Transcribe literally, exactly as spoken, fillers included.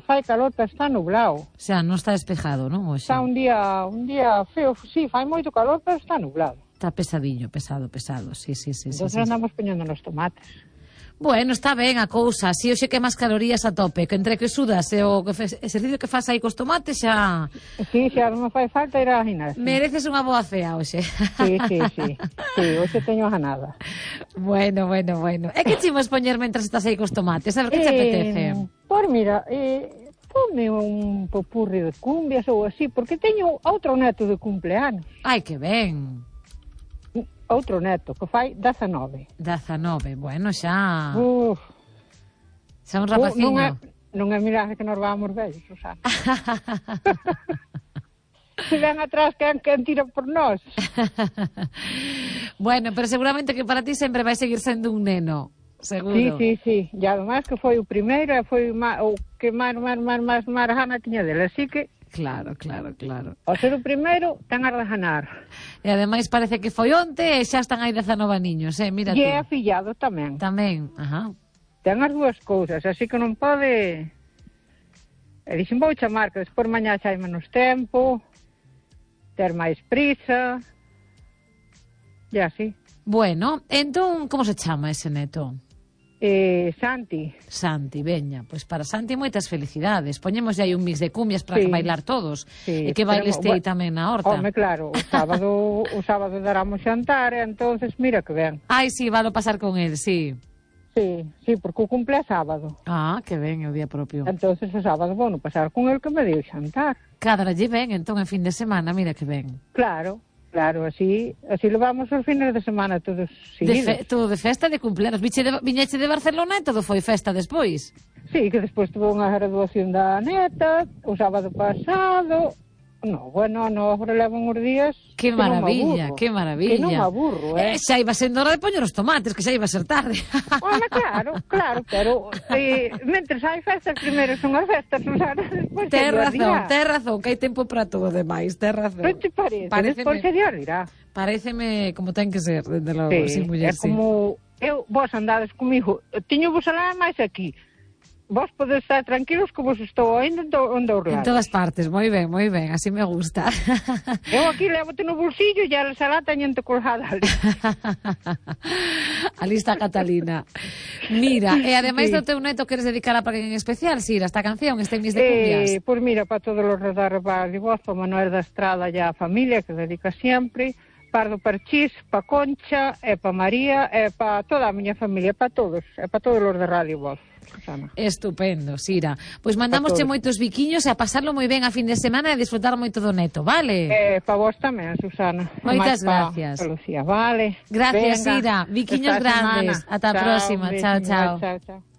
fai calor, pero está nublado. O sea, non está despejado, non? Oxe. Está un día, un día feo, sí, fai moito calor, pero está nublado. Está pesadillo, pesado, pesado, sí, sí, sí. Entón sí, sí. andamos poñendo nos tomates. Bueno, está ben a cousa, si hoxe que máis calorías a tope, que entre que sudas e o que fes, exercicio que faz aí cos tomates xa... Sí, xa non me fai falta ir a gimnasia. Mereces unha boa cea hoxe. Sí, sí, sí, sí, hoxe teño ganada. Bueno, bueno, bueno. E que chimos poñer mentras estás aí cos tomates? A ver, que te apetece? Eh, por mira, eh, ponme un popurri de cumbias ou así, porque teño outro neto de cumpleanos. Ai, que ben. Outro neto, que fai dezanove. dezanove, bueno, xa... Uf. Xa un rapaciño. Non é, non é mirade que nos vamos vellos, Susana. Se ven atrás, quen, quen tira por nós. Bueno, pero seguramente que para ti sempre vai seguir sendo un neno. Seguro. Sí, sí, sí. E además que foi o primeiro e foi o que máis, máis, máis, máis, máis gana tiña dele. Así que... Claro, claro, claro. Ao ser o primeiro, ten a de ganar. E ademais parece que foi onte e xa están aí dezanove niños, eh? Mira E tú. é afillado tamén. Tamén, ajá. Ten as dúas cousas, así que non pode... E dixen, vou chamar, que despois mañá xa hai menos tempo, ter máis prisa, e así. Bueno, entón, como se chama ese neto? Eh, Santi. Santi, veña, pois pues para Santi moitas felicidades. Poñemos aí un mix de cumbias para sí. bailar todos. Sí, e que bailes bueno, aí tamén na horta. Home, claro, o sábado o sábado daramos xantar, e entonces mira que ben. Ai, sí, valo pasar con el, sí. Sí, sí, porque o cumple é sábado. Ah, que ben, é o día propio. Entonces o sábado vou no pasar con el que me deu xantar. Cadralle ben, entón, en fin de semana, mira que ben. Claro. Claro, así así levamos os fines de semana todos seguidos. De fe, todo de festa de cumpleanos. Viche de, viñeche de Barcelona e todo foi festa despois. Sí, que despois tuvo unha graduación da neta, o sábado pasado. No, bueno, no, agora levan uns días. Que maravilla, que maravilla. Que non me aburro, eh. eh. Xa iba sendo hora de poñer os tomates, que xa iba a ser tarde. Bueno, claro, claro, pero eh, mentres hai festas, primeiro son as festas, Susana, despois Ten razón, ten razón, que hai tempo para todo demais, ten razón. Non te parece? Paréceme, despois se dirá. Paréceme como ten que ser, desde logo, sí, sin muller, é como eu, vos andades comigo, tiño vos alá máis aquí. Vos podes estar tranquilos que vos estou ainda onde os lados. En todas partes, moi ben, moi ben, así me gusta. Eu aquí levote no bolsillo e a salata teñente colgada ali. Ali está Catalina. Mira, e ademais sí. do teu neto queres dedicar a alguén en especial, Sira, esta canción, este mix de cumbias? Eh, pois mira, para todos os radar de voz, para Manuel da Estrada e a familia que dedica sempre, Pardo Parchís, para Concha, e para María, e para toda a miña familia, para todos, e para todos os de Radio Voz. Susana. Estupendo, Sira. Pois mandamosche moitos biquiños e a pasarlo moi ben a fin de semana e disfrutar moito do neto, vale? Eh, para vos tamén, Susana. Moitas gracias. Pa Lucía, vale. Gracias, venga. Sira. Biquiños grandes. Ata a próxima. Chao, chao. Chao, chao.